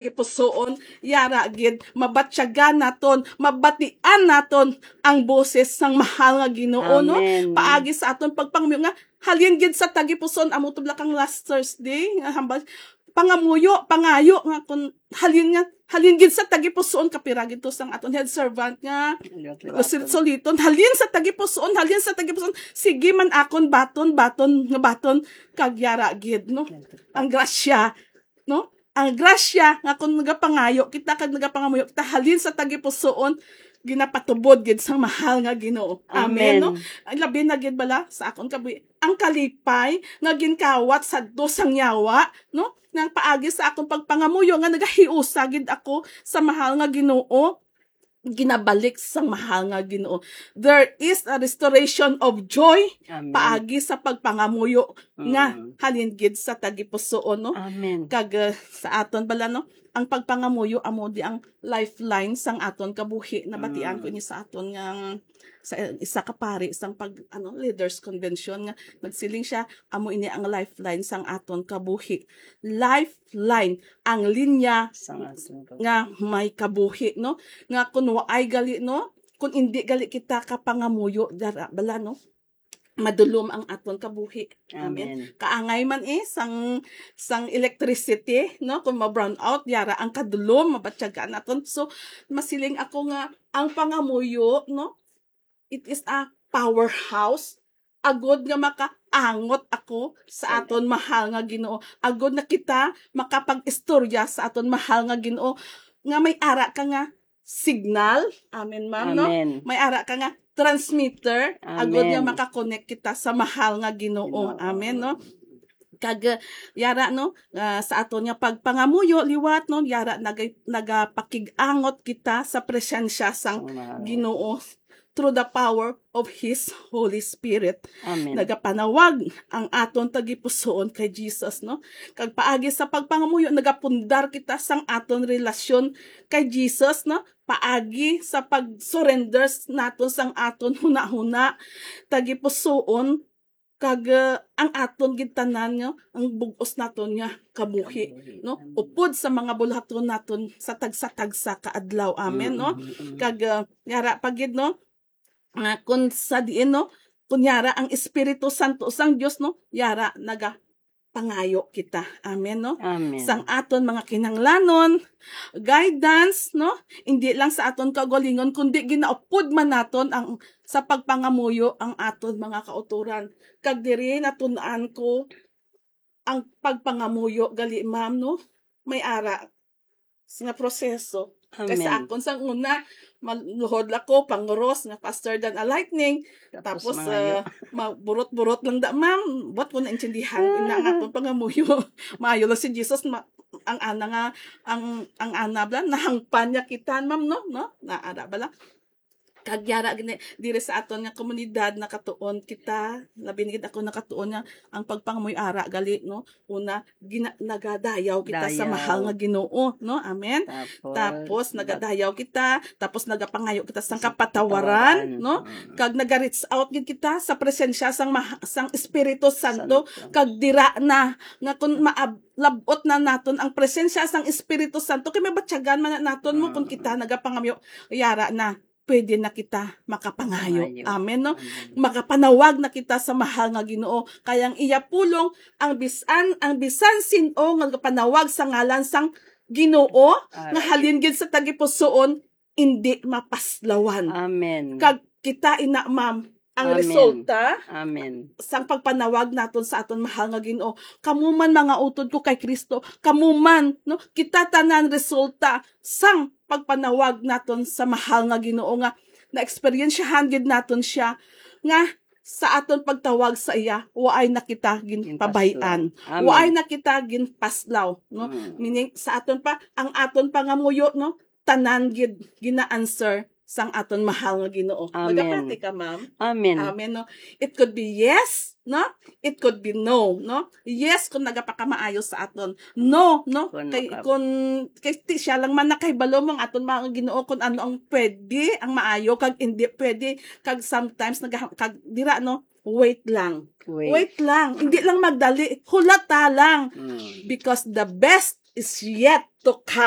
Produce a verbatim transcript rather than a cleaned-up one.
tagipusoon, yara gid, mabatyagan naton, mabatian naton ang boses sang mahal nga Ginoo, no? Amen. Paagi sa aton pagpangamuyo nga, halin gid sa tagipusoon, amo to bala kang last Thursday, nga hambal, pangamuyo, pangayo, nga kun halin nga, halin gid sa tagipusoon, kapira gid to sang aton head servant nga, Sulit-suliton, halin sa tagipusoon, halin sa tagipusoon. Sige man akon baton, baton, nga baton, kag yara gid, no? Ang grasya, no? Ang grasya nga kung nagapangayo kita kag nagapangamuyo kita halin sa tagipusoon, ginapatubod gid sang mahal nga Ginoo. Amen, Amen. no? Ang labi na gid bala sa akon kabuhi, ang kalipay nga ginkawat sadto sang yawa, no? Nang paagi sa akon pagpangamuyo nga nagahiusa gid ako sa mahal nga Ginoo, ginabalik sang mahal nga Ginoo. There is a restoration of joy Amen. paagi sa pagpangamuyo nga Mm. halin gid sa tagipusoon, no? Amen. Kag, uh, sa aton bala, no? Ang pagpangamuyo amo di ang lifeline sang aton kabuhi. Nabatian ko Mm. ini sa aton nga, sa isa ka pari sang pag, ano, leaders convention nga nagsiling siya, amo ini ang lifeline sang aton kabuhi. Lifeline, ang linya Sang aton kabuhi. nga may kabuhi, no? Nga kun waay gali, no? Kun indi gali kita kapangamuyo, dara, bala, no? Madulom ang aton kabuhi. Amen. Amen. Kaangay man, eh, sang, sang electricity, no? Kung ma-brown out, yara ang kadulom, mabatyagan naton. So, masiling ako nga ang pangamuyo, no? It is a powerhouse. Agod nga makaangot ako sa Amen. aton mahal nga Ginoo. Agod na kita makapag-istorya sa aton mahal nga Ginoo. Nga may ara ka nga signal. Amen, ma'am, no? Amen. May ara ka nga transmitter. Agod nga Amen. makakonek kita sa mahal nga Ginoo. Ginoo. Amen, no? Kag, uh, yara, no, uh, sa aton nga pagpangamuyo liwat, no, yara, naga-, nagapakig-angot kita sa presensya sang Amen. Ginoo through the power of His Holy Spirit. Amen. Nagapanawag ang aton tagipusoon kay Jesus, no? Kag paagi sa pagpangamuyo, nagapundar kita sang aton relasyon kay Jesus, no? Paagi sa pag-surrender s-, naton sang aton hunahuna, tagipusoon, kag, uh, ang aton gid tanan nga, ang bug-os naton nga kabuhi, Kabuhi. no? Amen. Upod sa mga buluhaton naton sa tagsa-tagsa ka adlaw. Amen, no? Mm, mm, mm. Kag, uh, yara pa gid, no? Nga kun sa diin, no? Kun yara ang Espiritu Santo sang Dios, no? Yara nagapangayo kita. Amen, no? Amen. Sang aton mga kinahanglanon, guidance, no? Indi lang sa aton kaugalingon, kundi ginaupod man naton ang, sa pagpangamuyo ang aton mga kautoran. Kag diri natun-an ko ang pagpangamuyo gali, ma'am, no? May ara nga proseso. Kay sa Amen. akon sang una, maluhod lang ko, panguros nga faster than a lightning. Tapos, Tapos, mga ah, maburot-burot lang da, ma'am. Buot ko naintindihan, ina nga akong pangamuyo. Maayo lang si Jesus, ma-, ang ana nga, ang, ang ana bala, nahangpan niya kita, ma'am, no? No? Naara bala. Kag yara gini, diri sa aton nga komunidad, nakatuon kita, labi na gid ako nakatuon nga ang pagpangamuyo ara gali, no? Una, gina-, nagadayaw kita sa Dayaw. mahal nga Ginoo, no? Amen. Tapos, Tapos, nag- nagadayaw kita, tapos nagapangayo kita sang Sa kapatawaran, kapatawaran, no? mm. Kag naga-reach out gid kita sa presensya sang maha-, sang Espiritu Santo, Santo. kag dira na nga kun maab-, lab-ot na naton ang presensya sang Espiritu Santo, kay mabatyagan man na naton mo kung Mm. kita nagapangamuyo, yara na, pwede na kita makapangayo. Pangayo. Amen, no? Amen. Makapanawag na kita sa mahal nga Ginoo. Kay ang iya pulong, ang bisan, ang bisan sin-o nga nagapanawag sa ngalan sang Ginoo, Amen. nga halin gid sa tagipusoon, indi mapaslawan. Amen. Kag kita ina, ma'am, ang Amen. resulta Amen. sang pagpanawag naton sa aton mahal nga Ginoo. Kamo man, mga utod ko kay Kristo, kamo man, no, kita tanan resulta sang pagpanawag naton sa mahal nga Ginoo, nga naeksperyensyahan gid naton siya, nga sa aton pagtawag sa iya, waay na kita ginpabay-an. Ginpaslaw. Amen. Waay na kita ginpaslaw, no? Mm. Meaning, sa aton pa, ang aton pangamuyo, no? Tanan gid gina-answer sang aton mahal nga Ginoo. Amen. Magapati ka, ma'am? Amen. Amen, no? It could be yes, no? It could be no, no? Yes, kung nagapakamaayo sa aton. No, no? Kung Kay, naka- kung, kay ti-, siya lang man nakahibalo mo ang aton mga Ginoo kung ano ang pwede, ang maayo, kag hindi pwede, kag sometimes, naga-, kag dira, no? Wait lang. Wait. Wait lang. Hindi lang magdali. Hulata lang. Mm. Because the best is yet to come.